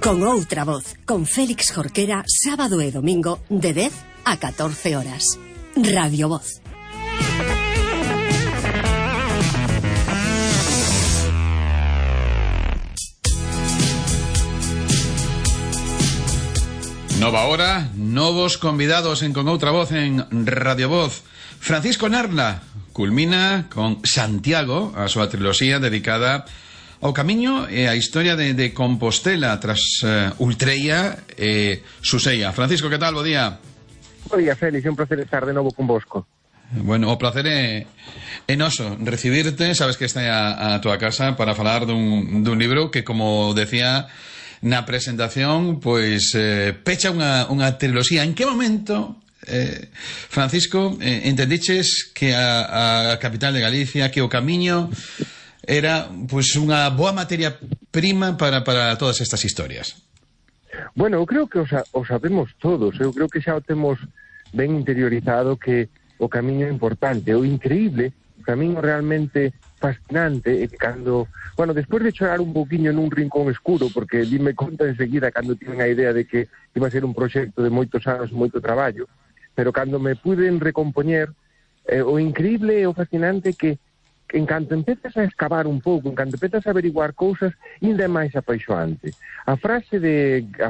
Con outra voz, con Félix Jorquera, sábado e domingo, de 10 a 14 horas. Radio Voz. Nova hora, novos convidados en Con outra voz en Radio Voz. Francisco Narla culmina con Santiago a súa triloxía dedicada ao camiño e a historia de Compostela tras Ultreia e Suseia. Francisco, que tal? Bo día. Bo día, Félix, é un placer estar de novo con vosco. Bueno, o placer é noso recibirte. Sabes que está a tua casa para falar dun libro que, como decía na presentación, pois pecha unha triloxía. En que momento, Francisco, entendiches que a capital de Galicia, que o camiño era pois unha boa materia prima para todas estas historias? Bueno, eu creo que o sabemos todos. Eu creo que xa o temos ben interiorizado, que o camiño é importante. O increíble, o camiño realmente fascinante é que cando... Bueno, despois de chorar un poquinho nun rincón escuro, porque dime conta enseguida cando tiven a idea de que iba a ser un proxecto de moitos anos, moito traballo, pero cando me puden recompoñer, o increíble e o fascinante que en canto empezas a excavar un pouco, en canto empezas a averiguar cousas, ainda é máis apaixoante. A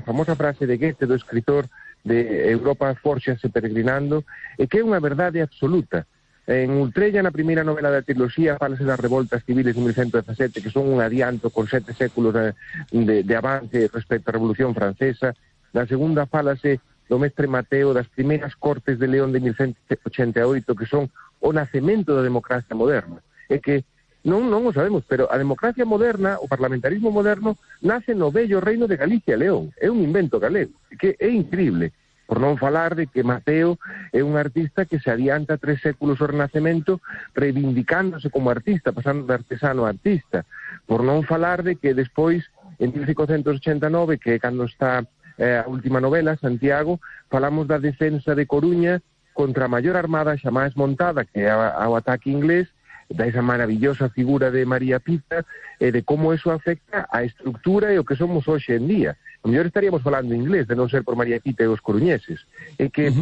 famosa frase de Goethe, do escritor de Europa fórxase peregrinando, é que é unha verdade absoluta. En Ultreia, na primeira novela da triloxía, fálase das revoltas civiles de 1117, que son un adianto con 7 séculos de avance respecto á Revolución Francesa. Na segunda fálase do mestre Mateo, das primeiras cortes de León de 1188, que son o nacemento da democracia moderna. É que non o sabemos, pero a democracia moderna, o parlamentarismo moderno, nace no bello reino de Galicia e León. É un invento galego, que é increíble. Por non falar de que Mateo é un artista que se adianta 3 séculos ao Renacemento, reivindicándose como artista, pasando de artesano a artista. Por non falar de que despois, en 1589, que é cando está a última novela, Santiago, falamos da defensa de Coruña contra a maior armada xamais montada, que é ao ataque inglés, da esa maravillosa figura de María Pita, e de como eso afecta a estructura e o que somos hoxe en día. A mellor estaríamos falando inglés, de non ser por María Pita e os coruñeses. É que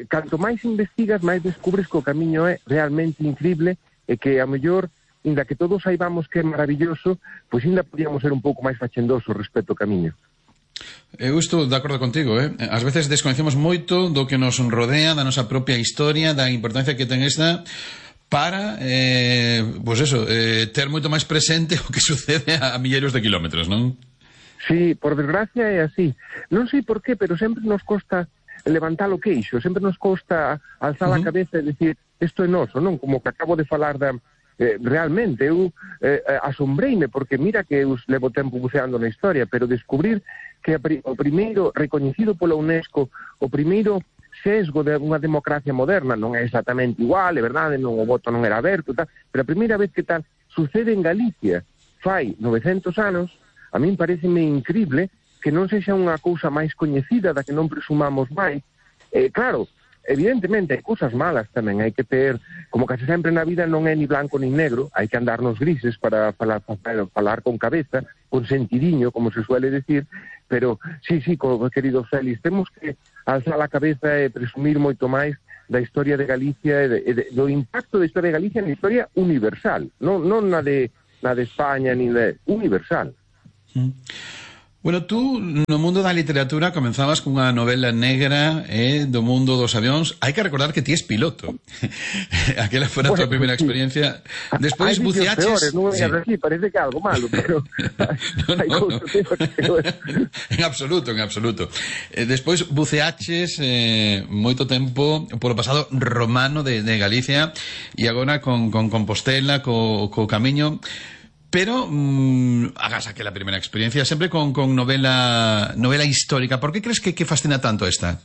canto máis investigas, máis descubres que o camiño é realmente increíble, e que a mellor, inda que todos saibamos que é maravilloso, pois ainda podíamos ser un pouco máis fachendosos respecto ao camiño. Eu estou de acordo contigo, Ás veces desconhecemos moito do que nos rodea, da nosa propia historia, da importancia que ten esta para, pois eso, ter moito máis presente o que sucede a milleiros de kilómetros, non? Sí, por desgracia é así. Non sei por qué, pero sempre nos costa levantar o queixo, sempre nos costa alzar a cabeza e decir, isto é noso, non? Como que acabo de falar da... realmente, eu asombreime, porque mira que eu levo tempo buceando na historia, pero descubrir que o primeiro recoñecido pola UNESCO, o primeiro sesgo de unha democracia moderna, non é exactamente igual, é verdade, non, o voto non era aberto, tal, pero a primeira vez que tal sucede en Galicia, fai 900 anos, a min pareceme increíble que non sexa unha cousa máis coñecida, da que non presumamos máis. Claro, evidentemente hai cousas malas tamén, hai que ter, como case sempre na vida non é ni blanco ni negro, hai que andar nos grises para falar con cabeza, con sentidiño, como se suele decir, pero sí, querido Félix, temos que alzar a cabeza e presumir moito máis da historia de Galicia e do impacto da historia de Galicia na historia universal, non na de España, ni de universal. Bueno, tú no mundo da literatura comenzabas cunha novela negra do mundo dos avións. Hai que recordar que ti es piloto. Aquela foi a tua primeira experiencia. Despois buceaches... Non é así, parece que é algo malo, pero... En absoluto. Despois buceaches moito tempo polo pasado romano de Galicia e agora con Compostela, co camiño... Pero hagas aquela primeira experiencia sempre con novela histórica. Por que crees que fascina tanto esta?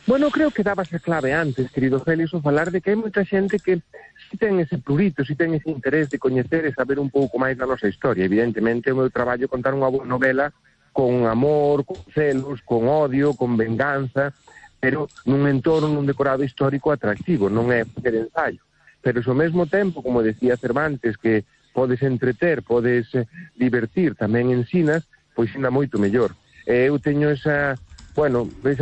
Bueno, creo que dabas a clave antes, querido Félix, o falar de que hai moita xente que si ten ese prurito, si ten ese interés de coñecer e saber un pouco máis da nosa historia. Evidentemente, o meu traballo é contar unha boa novela con amor, con celos, con odio, con venganza, pero nun entorno, nun decorado histórico atractivo, non é facer ensayo. Pero ao mesmo tempo, como decía Cervantes, que podes entreter, podes divertir, tamén ensinas, pois ainda moito mellor. Eu teño esa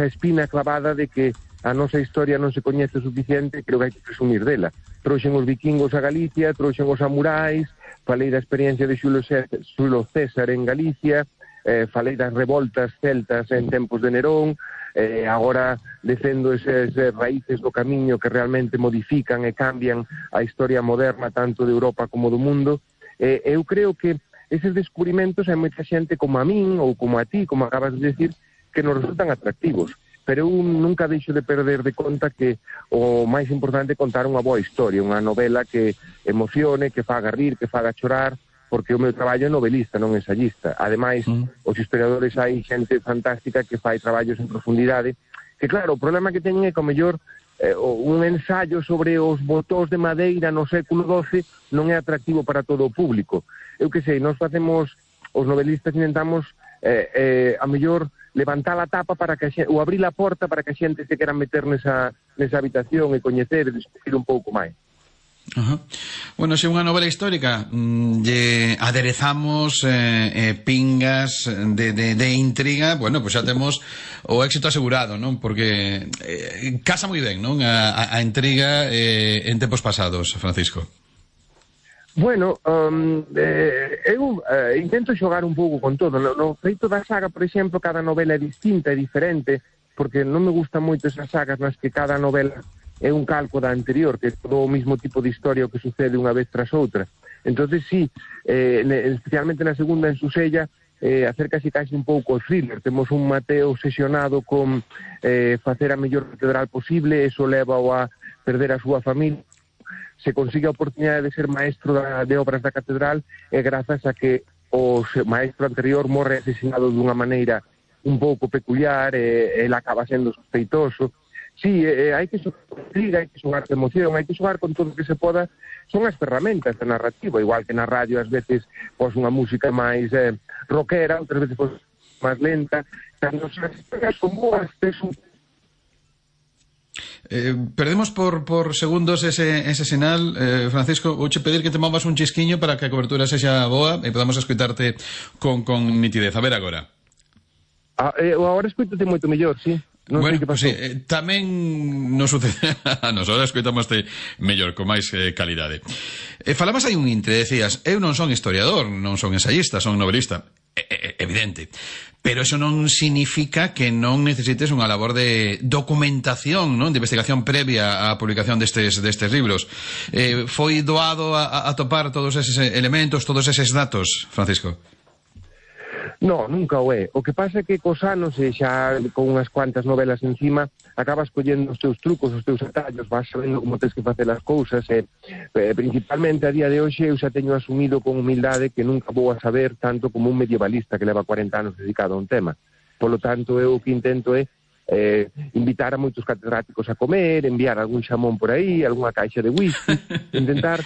espina clavada de que a nosa historia non se coñece o suficiente, creo que hai que presumir dela. Trouxen os vikingos a Galicia, trouxen os samurais, falei da experiencia de Xulio César en Galicia, falei das revoltas celtas en tempos de Nerón, agora defendo esas raíces do camiño que realmente modifican e cambian a historia moderna tanto de Europa como do mundo. Eu creo que eses descubrimentos hai moita xente como a min ou como a ti, como acabas de decir, que nos resultan atractivos, pero eu nunca deixo de perder de conta que o máis importante é contar unha boa historia, unha novela que emocione, que faga rir, que faga chorar, porque o meu traballo é novelista, non ensayista. Ademais, os historiadores hai xente fantástica que fai traballos en profundidade, que claro, o problema que teñen é que ao mellor un ensayo sobre os botóns de madeira no século XII non é atractivo para todo o público. Eu que sei, nós facemos, os novelistas intentamos a mellor levantar a tapa para que a xente, ou abrir a porta para que a xente se quera meter nesa habitación e coñecer e descubrir un pouco máis. Bueno, se unha novela histórica lle aderezamos pingas de intriga, bueno, pues xa temos o éxito asegurado, non? Porque casa moi ben, non? A intriga en tempos pasados, Francisco. Bueno, eu intento xogar un pouco con todo. No feito da saga, por exemplo, cada novela é distinta, é diferente, porque non me gustan moito esas sagas nas que cada novela é un calco da anterior, que é todo o mismo tipo de historia o que sucede unha vez tras outra. Entonces sí, especialmente na segunda, en Susella, acércase casi un pouco ao thriller. Temos un Mateo obsesionado con facer a mellor catedral posible, eso leva a perder a súa familia. Se consigue a oportunidade de ser maestro de obras da catedral é grazas a que o maestro anterior morre asesinado dunha maneira un pouco peculiar e ele acaba sendo sospeitoso. Sí, hai que xogar con intriga, hai que xogar con emoción, hai que xogar con todo o que se poda. Son as ferramentas da narrativa, igual que na radio ás veces pos unha música máis rockera, outras veces pos máis lenta. Cando as historias son boas, perdemos por segundos ese sinal, Francisco. Vouche pedir que te movas un chisquiño para que a cobertura sexa boa e podamos escuitarte con nitidez. A ver agora. Agora escuítate moito mellor, sí. Non bueno, sei que pasou. Sí, tamén nos sucede a nos, ahora escoitamoste mellor, con máis calidade. Falabas aí un intre, decías, eu non son historiador, non son ensayista, son novelista. Evidente. Pero eso non significa que non necesites unha labor de documentación, non? De investigación previa á publicación destes libros. Foi doado a topar todos eses elementos, todos eses datos, Francisco? No, nunca o é. O que pasa é que cos anos, e xa con unhas cuantas novelas encima, acabas collendo os teus trucos, os teus atallos, vas sabendo como tens que facer as cousas, e principalmente a día de hoxe eu xa teño asumido con humildade que nunca vou a saber tanto como un medievalista que leva 40 anos dedicado a un tema. Polo tanto, eu o que intento é invitar a moitos catedráticos a comer, enviar algún xamón por aí, algunha caixa de whisky, intentar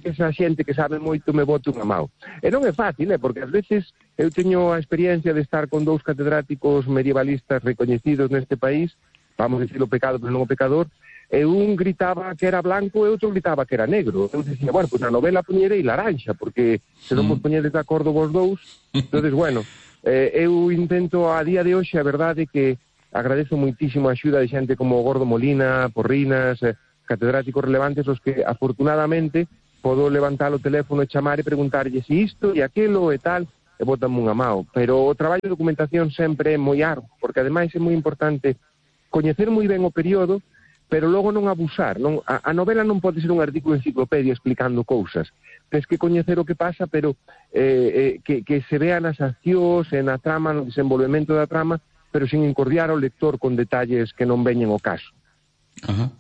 que esa xente que sabe moito me bote unha mão. E non é fácil, porque ás veces eu teño a experiencia de estar con dous catedráticos medievalistas recoñecidos neste país, vamos dicir o pecado, pero non o pecador, e un gritaba que era blanco e outro gritaba que era negro. Eu dicía, bueno, pues na novela poñerei laranxa, porque se non vos poñedes de acordo vos dous. Entonces, bueno, eu intento a día de hoxe, a verdade que agradezo moitísimo a axuda de xente como Gordo Molina, Porrinas, catedráticos relevantes, os que afortunadamente podo levantar o teléfono e chamar e preguntarlle si isto e aquelo e tal, e botanme unha mão. Pero o traballo de documentación sempre é moi arduo, porque ademais é moi importante coñecer moi ben o período, pero logo non abusar. A novela non pode ser un artículo de enciclopedia explicando cousas. Tens que coñecer o que pasa, pero que se vean as accións, na trama, no desenvolvemento da trama, pero sin encordiar ao lector con detalles que non veñen ao caso. Ajá.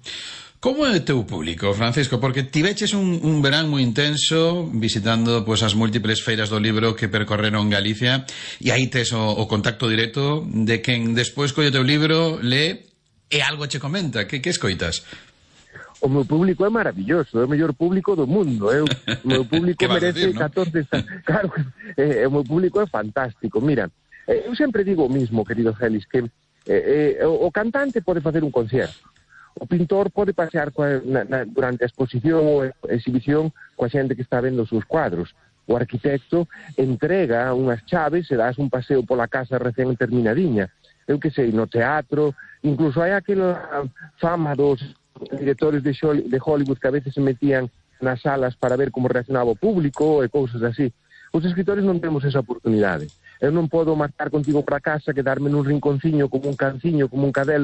Como é o teu público, Francisco? Porque tiveches un verán moi intenso visitando pues, as múltiples feiras do libro que percorreron Galicia, e aí tes o contacto directo de quen despois colle o teu libro, lee e algo che comenta. Que escoitas? O meu público é maravilloso, é o mellor público do mundo. O meu público merece decir, 14... ¿no? Claro, o meu público é fantástico. Mira, eu sempre digo o mismo, querido Félix, que o cantante pode facer un concerto, o pintor pode pasear durante a exposición ou a exhibición coa xente que está vendo os seus cuadros, o arquitecto entrega unhas chaves e das un paseo pola casa recén terminadiña. Eu que sei, no teatro, incluso hai aquela fama dos directores de Hollywood que a veces se metían nas salas para ver como reaccionaba o público e cousas así. Os escritores non temos esa oportunidade. Eu non podo marchar contigo para casa, quedarme nun rinconciño como un canciño, como un cadelo,